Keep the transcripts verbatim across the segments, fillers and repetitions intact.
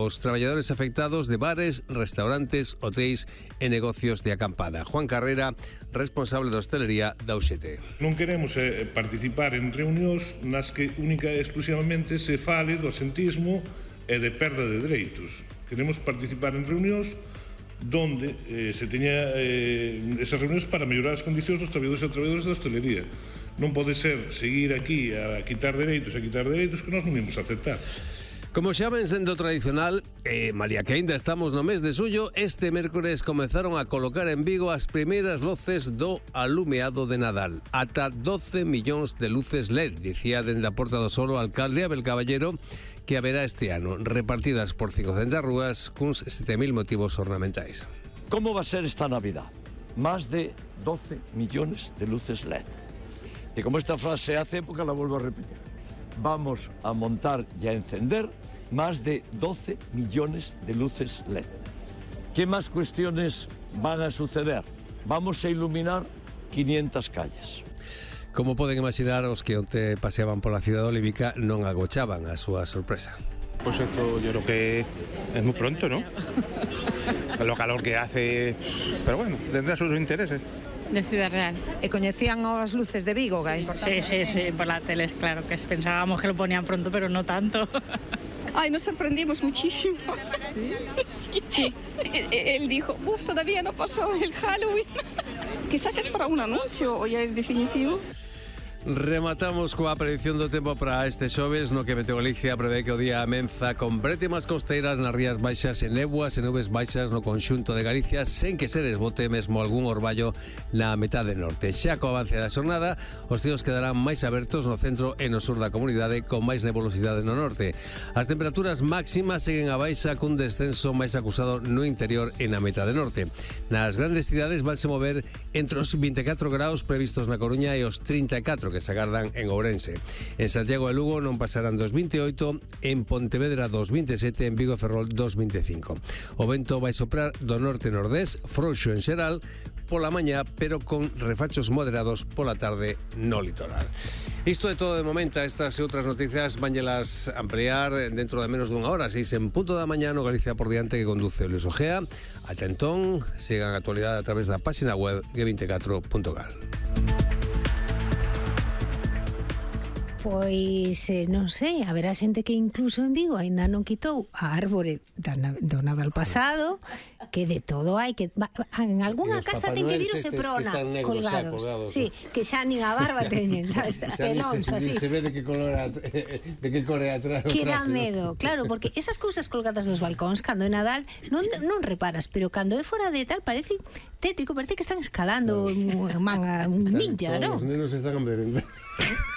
Os traballadores afectados de bares, restaurantes, hotéis e negocios de acampada. Juan Carrera, responsable de hostelería da U X T. Non queremos eh, participar en reunións nas que única e exclusivamente se fale do asentismo e de perda de dereitos. Queremos participar en reunións donde eh, se teña eh, esas reunións para mellorar as condicións dos traballadores e traballadoras da hostelería. Non pode ser seguir aquí a quitar dereitos e a quitar dereitos que nós non imos aceptar. Como xa ven sendo tradicional, e malia que ainda estamos no mes de xullo, este mércores comezaron a colocar en Vigo as primeiras luces do alumeado de Nadal. Ata doce millóns de luces L E D, dicía dende a Porta do Sol o alcalde Abel Caballero, que haberá este ano, repartidas por cincocentas rúas cuns sete mil motivos ornamentais. Como va a ser esta Navidad? Más de doce millones de luces L E D. E como esta frase hace época, la vuelvo a repetir. Vamos a montar y a encender más de doce millones de luces L E D. ¿Qué más cuestiones van a suceder? Vamos a iluminar quinientas calles. Como poden imaginar, os que onte paseaban pola cidade olívica non agochaban a súa sorpresa. Pues esto yo creo que es muy pronto, ¿no? Lo calor que hace, pero bueno, tendrá sus intereses. De Ciudad Real. E coñecían as luces de Vigo, que é importante. Sí, sí, sí, por la tele, claro, que pensábamos que lo ponían pronto, pero no tanto. Ay, nos sorprendimos muchísimo. ¿Sí? Sí. Sí. Él dijo, uff, todavía no pasó el Halloween. Quizás es para un anuncio o ya es definitivo. Rematamos coa predicción do tempo para este xoves, no que Meteo Galicia prevé que o día amenza con brétemas costeiras nas rías baixas e néboas e nubes baixas no conxunto de Galicia, sen que se desbote mesmo algún orballo na metade norte. Xa co avance da xornada, os cielos quedarán máis abertos no centro e no sur da comunidade, con máis nebulosidade no norte. As temperaturas máximas seguen a baixa, cun descenso máis acusado no interior e na metade norte. Nas grandes cidades vanse mover entre os vinte e catro graus previstos na Coruña e os trinta e catro que se agardan en Ourense. En Santiago e Lugo non pasarán dos vinte e oito, en Pontevedra dos vinte e sete, en Vigo e Ferrol dos vinte e cinco. O vento vai soprar do norte-nordés, frouxo en xeral, pola mañá, pero con refachos moderados pola tarde no litoral. Isto é todo de momento. Estas e outras noticias vanllelas ampliar dentro de menos dunha hora, seis en punto da mañá no Galicia por diante, que conduce Luis Ojea. Ata entón, sigan a actualidade a través da página web ge veinticuatro punto gal. Pois, eh, non sei, haberá xente que incluso en Vigo aínda non quitou a árbore da, do Nadal pasado, que de todo hai, que va, en algunha casa ten que vir o Seprona colgados. Colgados. Sí, que xa nin a barba teñen, sabes, pelóns así. Se ve de que color de que core atrás. Que dá medo, claro, porque esas cousas colgadas nos balcóns cando é Nadal non non reparas, pero cando é fora de tal parece tétrico, parece que están escalando un manga, un ninja, non? Os nenos están hambrientos.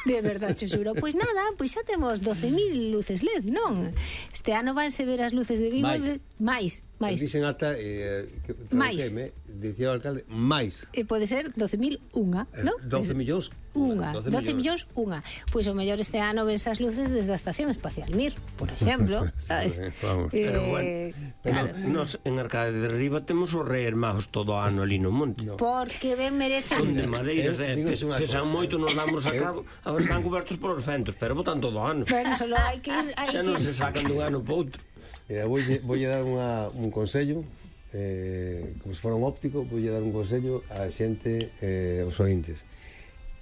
De verdade, che xuro. Pois nada, pois xa temos doce mil luces L E D, non? Este ano vanse ver as luces de Vigo de... máis, máis. Dixen ata eh, máis. Dicía o alcalde, máis. E pode ser doce mil unha, non? doce millóns unha. doce millóns unha. Pois o mellor este ano ves as luces desde a Estación Espacial Mir, por exemplo, sabes? Vamos. Eh, pero bueno, claro. Nos en Arcade de Riba temos os Reis Magos todo o ano ali no monte. No. Porque ben merecen. Son de madeiras, eh, que pesan moito, nos damos sacado. Agora están cobertos polos ventos, pero botan todo o ano. Pero solo hai que ir... Hai xa non se sacan dun ano para outro. Mira, vou a dar unha, un consello, eh, como se fora un óptico, vou a dar un consello á xente, eh, os ointes,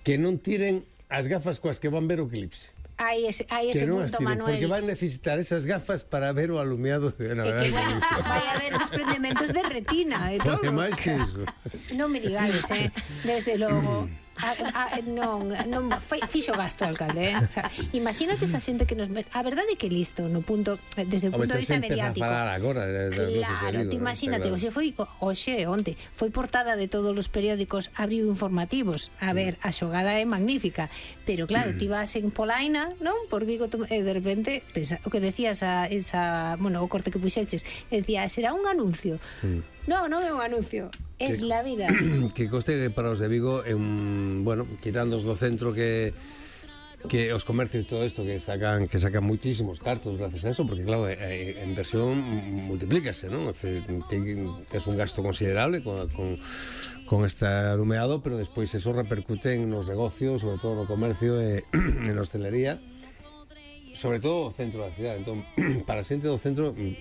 que non tiren as gafas coas que van ver o eclipse. Hai ese, hai ese punto, tiren, Manuel. Porque van necesitar esas gafas para ver o alumeado de Navidad. E que, bueno, vai haber desprendementos de retina e todo. Porque máis que iso. Non me digades, eh? Desde logo. A, a, non, non fixo gasto, alcalde, eh? O sea, imagínate esa xente que nos... A verdade é que listo, no punto, desde o punto de vista mediático. Agora, de, de claro, te imagínate, claro. Oxe foi, oxe, onte, foi portada de todos os periódicos, abriu informativos. A ver, a xogada é magnífica, pero claro, ti vas en Polaina, non? Por Vigo, e de repente, pensa, o que decías a esa, bueno, o corte que puxeches, decía, será un anuncio. Mm. Non, non é un anuncio. Es que, la vida. Que coste para os de Vigo é un, bueno, quitando os do centro que que os comercios todo isto que sacan que sacan muitísimos cartos gracias a eso, porque claro, a inversión multiplícase, non? Es un gasto considerable con, con con este alumeado, pero despois eso repercute en nos negocios, sobre todo no comercio e en hostelería, sobre todo o centro da cidade. Entón, para a xente do centro é un